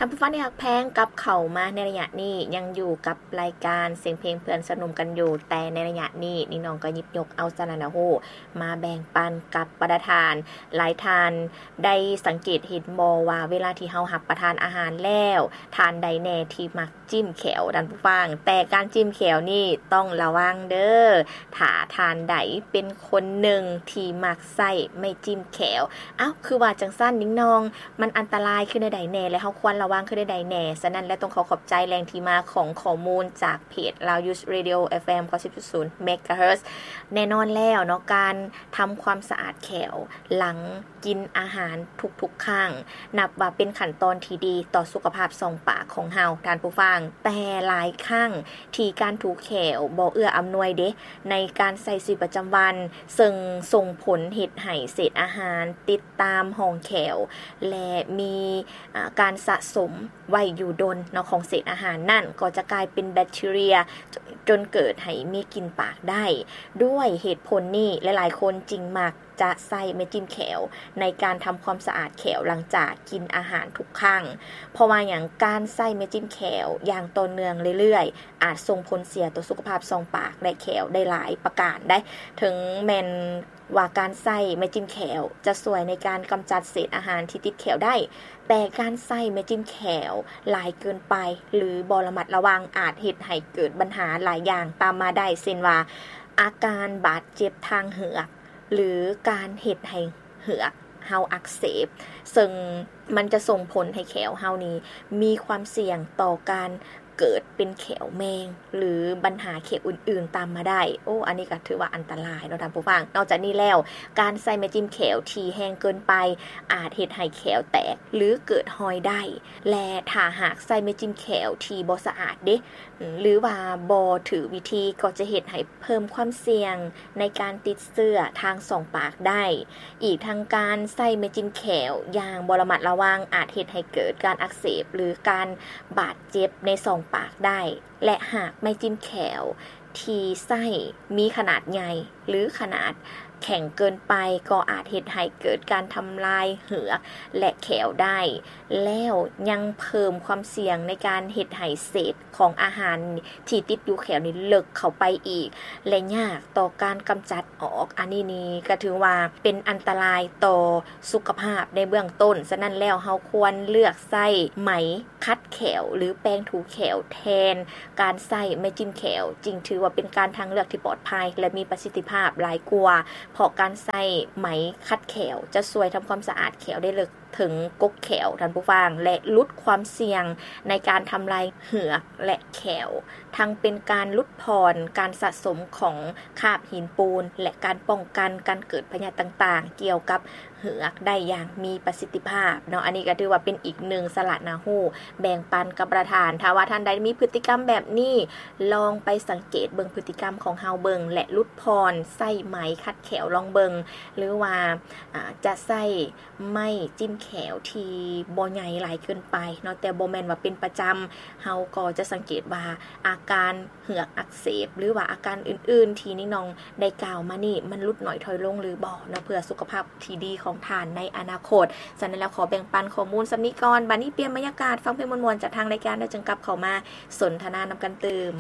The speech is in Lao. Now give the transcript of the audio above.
ທ່ານຜູ້ຟັງທີ່ຮັກແພງ, ກັບເຂົ້າມາໃນໄລຍະນີ້ ຍັງຢູ່ກັບລາຍການສຽງເພງເພື່ອນສະໜຸ່ມກັນຢູ່, ແຕ່ໃນໄລຍະນີ້ ນິງນ້ອງກໍຫຍິບຍົກເອົາສາລະໜ້າຮູ້ມາແບ່ງປັນກັບບັນດາທ່ານ. ຫຼາຍທ່ານໄດ້ສັງເກດເຫັນບໍ່ວ່າ ເວລາທີ່ເຮົາຮັບປະທານອາຫານແລ້ວ, ທ່ານໃດແດ່ທີ່ມັກຈິ້ມແຂ້ວ, ທ່ານຜູ້ຟັງ? ແຕ່ການຈິ້ມແຂ້ວນີ້ຕ້ອງລະວັງເດີ້ ຖ້າທ່ານໃດເປັນຄົນໜຶ່ງທີ່ມັກໃຊ້ໄມ້ຈິ້ມແຂ້ວ. ອ້າວ ຄືວ່າຈັ່ງຊັ້ນ ນິງນ້ອງ? ມັນອັນຕະລາຍຄືແນວໃດແດ່ ແລະ ເຮົາຄວນລະວັງຄືແນວໃດແດ່? ສະນັ້ນແລ້ວ ຕ້ອງຂໍຂອບໃຈແຫຼ່ງທີ່ມາຂອງຂໍ້ມູນຈາກເພຈ Loud Youth Radio ເອັຟ ເອັມ ເກົ້າສິບຈຸດສູນ ເມກາເຮີດ. ແນ່ນອນແລ້ວເນາະ, ການທຳຄວາມສະອາດແຂ້ວຫຼັງກິນອາຫານທຸກໆຄັ້ງ ນັບວ່າເປັນຂັ້ນຕອນທີ່ດີຕໍ່ສຸຂະພາບຊ່ອງປາກຂອງເຮົາ, ທ່ານຜູ້ຟັງ. ແຕ່ຫຼາຍຄັ້ງທີ່ການຖູແຂ້ວບໍ່ເອື້ອອຳນວຍເດ ໃນການໃຊ້ຊີວິດປະຈຳວັນ, ເຊິ່ງສົ່ງຜົນເຮັດໃຫ້ເສດອາຫານຕິດຕາມຮ່ອງແຂ້ວ ແລະ ມີ ອາ ການສະສົມໄວ້ຢູ່ດົນເນາະ ຂອງເສດອາຫານນັ້ນ ກໍຈະກາຍເປັນແບັກທີເຣຍ ຈົນເກີດໃຫ້ມີກິ່ນປາກໄດ້. ດ້ວຍເຫດຜົນນີ້ ຫຼາຍໆຄົນຈຶ່ງມັກຈະໃຊ້ໄມ້ຈິ້ມແຂ້ວໃນການທຳຄວາມສະອາດແຂ້ວຫຼັງຈາກກິນອາຫານທຸກຄັ້ງ. ເພາະວ່າຫຍັງ? ການໃຊ້ໄມ້ຈິ້ມແຂ້ວຢ່າງຕໍ່ເນື່ອງເລື້ອຍໆ ອາດສົ່ງຜົນເສຍຕໍ່ສຸຂະພາບຊ່ອງປາກ ແລະ ແຂ້ວໄດ້ຫຼາຍປະການໄດ໋. ເຖິງແມ່ນ ວ່າການໃຊ້ໄມ້ຈິ້ມແຂ້ວຈະຊ່ວຍໃນການກຳຈັດເສດອາຫານທີ່ຕິດແຂ້ວໄດ້, ແຕ່ການໃຊ້ໄມ້ຈິ້ມແຂ້ວຫຼາຍເກີນໄປ ຫຼື ບໍ່ລະມັດລະວັງ ອາດເຮັດໃຫ້ເກີດບັນຫາຫຼາຍຢ່າງຕາມມາໄດ້, ເຊັ່ນວ່າ ອາການບາດເຈັບທາງເຫືອກ ຫຼື ການເຮັດໃຫ້ເຫືອກເຮົາອັກເສບ, ເຊິ່ງມັນຈະສົ່ງຜົນໃຫ້ແຂ້ວເຮົານີ້ມີຄວາມສ່ຽງຕໍ່ການ ເກີດເປັນແຂ້ວແມງ ຫຼື ບັນຫາແຂ້ວອື່ນໆຕາມມາໄດ້. ໂອ້ ອັນນີ້ກໍຖືວ່າອັນຕະລາຍເນາະ ທ່ານຜູ້ຟັງ. ນອກຈາກນີ້ແລ້ວ, ການໃຊ້ໄມ້ຈິ້ມແຂ້ວທີ່ແຮງເກີນໄປ ອາດເຮັດໃຫ້ແຂ້ວແຕກ ຫຼື ເກີດຮອຍໄດ້. ແລະ ຖ້າຫາກໃຊ້ໄມ້ຈິ້ມແຂ້ວທີ່ບໍ່ສະອາດເດ ຫຼືວ່າບໍ່ຖືກວິທີ ກໍຈະເຮັດໃຫ້ເພີ່ມຄວາມສ່ຽງໃນການຕິດເຊື້ອທາງຊ່ອງປາກໄດ້. ອີກທັງການໃຊ້ໄມ້ຈິ້ມແຂ້ວຢ່າງບໍ່ລະມັດລະວັງ ອາດເຮັດໃຫ້ເກີດການອັກເສບ ຫຼື ການບາດເຈັບໃນຊ່ອງປາກໄດ້ ແລະ ຫາກໄມ້ຈິ້ມແຂ້ວທີ່ໃຊ້ມີຂະໜາດໃຫຍ່ ຫຼື ຂະໜາດແຂງເກີນໄປ ກໍອາດເຮັດໃຫ້ເກີດການທຳລາຍເຫືອກ ແລະ ແຂ້ວໄດ້, ແລ້ວຍັງເພີ່ມຄວາມສ່ຽງໃນການເຮັດໃຫ້ເສດຂອງອາຫານທີ່ຕິດຢູ່ແຂ້ວນີ້ເລິກເຂົ້າໄປອີກ ແລະ ຍາກຕໍ່ການກຳຈັດອອກ. ອັນນີ້ນີ້ກໍຖືວ່າເປັນອັນຕະລາຍຕໍ່ສຸຂະພາບໃນເບື້ອງຕົ້ນ. ສະນັ້ນແລ້ວ ເຮົາຄວນເລືອກໃຊ້ໄໝຂັດແຂ້ວ ຫຼື ແປງຖູແຂ້ວແທນການໃຊ້ໄມ້ຈິ້ມແຂ້ວ ຈຶ່ງຖືວ່າເປັນການທາງເລືອກທີ່ປອດໄພ ແລະ ມີປະສິດທິພາບຫຼາຍກວ່າ, ເພາະການໃຊ້ໄໝຂັດແຂ້ວຈະຊ່ວຍທຳຄວາມສະອາດແຂ້ວໄດ້ເລິກ ເຖິງກົກແຂ້ວ ທ່ານຜູ້ຟັງ ແລະ ຫຼຸດຄວາມສ່ຽງໃນການທຳລາຍເຫືອກ ແລະ ແຂ້ວ, ທັງເປັນການຫຼຸດຜ່ອນການສະສົມຂອງຄາບຫີນປູນ ແລະ ການປ້ອງກັນການເກີດພະຍາດຕ່າງໆກ່ຽວກັບເຫືອກໄດ້ຢ່າງມີປະສິດທິພາບເນາະ. ອັນນີ້ກໍຖືວ່າເປັນອີກໜຶ່ງສາລະໜ້າຮູ້ແບ່ງປັນກັບປະທານ. ຖ້າວ່າທ່ານໃດມີພຶດຕິກຳແບບນີ້, ລອງໄປສັງເກດເບິ່ງພຶດຕິກຳຂອງເຮົາເບິ່ງ ແລະ ຫຼຸດຜ່ອນໃຊ້ໄໝຂັດແຂ້ວລອງເບິ່ງ ຫຼືວ່າ ອາ ຈະໃຊ້ ໄມ້ຈິ້ມແຂ້ວທີ່ບໍ່ໃຫຍ່ຫຼາຍເກີນໄປເນາະ, ແຕ່ບໍ່ແມ່ນວ່າເປັນປະຈຳ. ເຮົາກໍຈະສັງເກດວ່າອາການເຫືອກອັກເສບ ຫຼືວ່າອາການອື່ນໆທີ່ນິງນ້ອງໄດ້ກ່າວມານີ້ ມັນຫຼຸດໜ້ອຍຖອຍລົງຫຼືບໍ່ເນາະ, ເພື່ອສຸຂະພາບທີ່ດີຂອງທ່ານໃນອະນາຄົດ. ສະນັ້ນແລ້ວ ຂໍແບ່ງປັນຂໍ້ມູນສ່ຳນີ້ກ່ອນ. ບາດນີ້ປ່ຽນບັນຍາກາດ ຟັງເພງມ່ວນໆຈາກທາງລາຍການ ແລ້ວຈຶ່ງກັບເຂົ້າມາສົນທະນານຳກັນຕື່ມ.